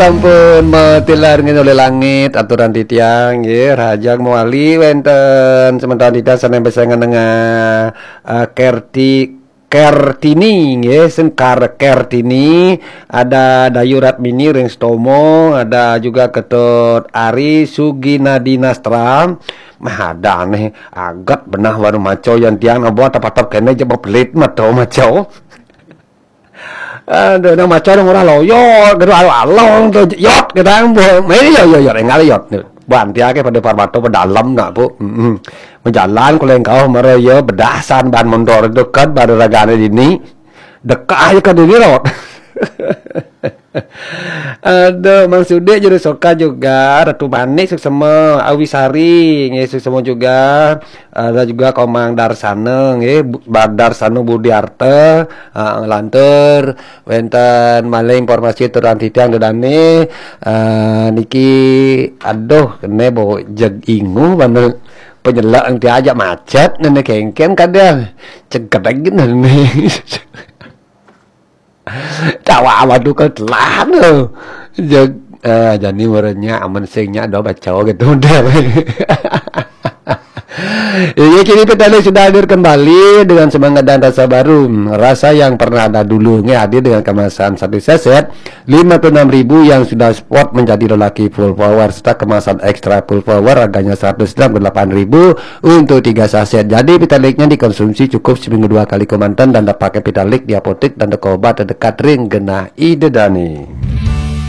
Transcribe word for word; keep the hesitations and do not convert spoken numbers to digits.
Sampun matilar nggih oleh langit aturan titiang nggih, rahajeng mawali wenten semeton titiang sané besengan nengah, eh, Kerti Kertini nggih, Sengkar Kertini, ada Dayu Ratmini ring Stomo, ada juga Ketut Ari Suginadi Nastra. Mah ada nih, aget benah baru maco yan tiang, abo atap-atap kene jebak pelit mato maco. Aduh, nang maco dong orang loyot, gitu, aduh, along tuh, yot, kita yang buat, ini yo, yo, yo, enggak yot. Banti ake pada parmato, pada dalam nak, Bu. Mm-mm. Menjalan, kalau yang kau, mara, ya, bedasan, ban mondor, deket, pada ragane dini. Dekat aja ke dini, rot. Aduh, Mang Sudik juru soka juga, Ratu Manik, suksema, Awi Sari, nggih, suksema juga. Ada juga Komang Darsana, nggih, Bu-, Ba-, Darsana Budiarta, ah, lantur, wenten malih informasi turang titiang dedane, eh, niki, aduh, kene bau jeg ingu, mana penyelak nanti aja macet, nene kengken kadang, cegedeg nene. Tawa waduh ke telah tu. Jeg, eh, jani warnanya aman singnya ada baca gitu deh. Ya, kini Petaling sudah hadir kembali dengan semangat dan rasa baru. Rasa yang pernah ada dulu, nggih, hadir dengan kemasan satu saset lima puluh enam ribu yang sudah spot menjadi lelaki full power serta kemasan extra full power harganya seratus enam puluh delapan ribu untuk tiga saset. Jadi, Petalingnya dikonsumsi cukup seminggu dua kali kemanten dan dapat pakai Petalik di apotek dan toko obat terdekat ring genah Ida Dani.